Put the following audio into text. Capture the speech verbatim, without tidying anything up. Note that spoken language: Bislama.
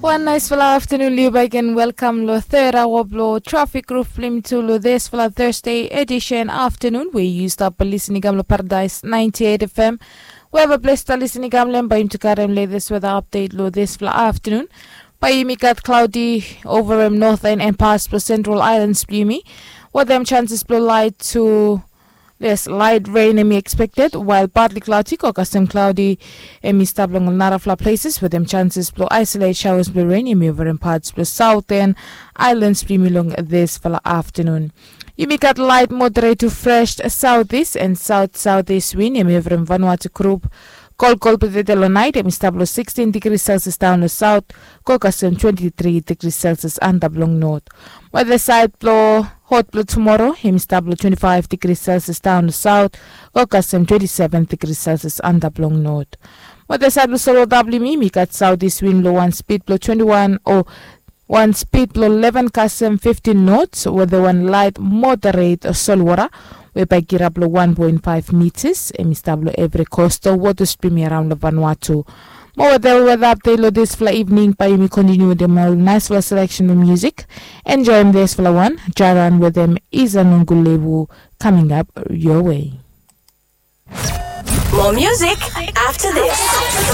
Wan naisfala aftanun long yu baik, and welkam long third aoa blong Trafik Ruf blong yumi tu long disfala Thursday edisen aftanun we yu stap lisin i kam long Paradise ninety eight F M. Wherever ples ta lisin i kam long hem, bae yumi tu karem latest weather update long disfala aftanun. Bae yumi gat cloudy over hem northern and parts blong Central Islands blong yumi. Wetem chances blong light to Yes, light rain hemi expected, while partly cloudy ko kasem cloudy hemi stap long narafala places wetem chances blong isolate showers blong rain hemi overem parts blong southern islands blong yumi long disfala aftanun. Yumi gat light moderate to fresh southeast and south southeast wind hemi overem Vanuatu group. Kolkol blong tede long nait hemi stap long sixteen degrees Celsius daon long south ko kasem twenty three degrees Celsius antap long north. Weather side blong hot blong tumoro hemi stap long twenty five degrees Celsius daon long south ko kasem twenty seven degrees Celsius antap long north. Weather side blong solwota blong yumi, yumi gat southeast wind long wan speed blong twenty one o wan speed blong eleven kasem fifteen knots wetem wan light moderate solwota we bae kirap long wan point five meters hemi stap long evri coastal waters blong yumi araon long Vanuatu. Mo wetem weather update long disfala evening, bae yumi kontiniu wetem ol naisfala selection blong music. Enjoem disfala wan, Jaran wetem Iza Nunguleu, coming up your way. More music after this.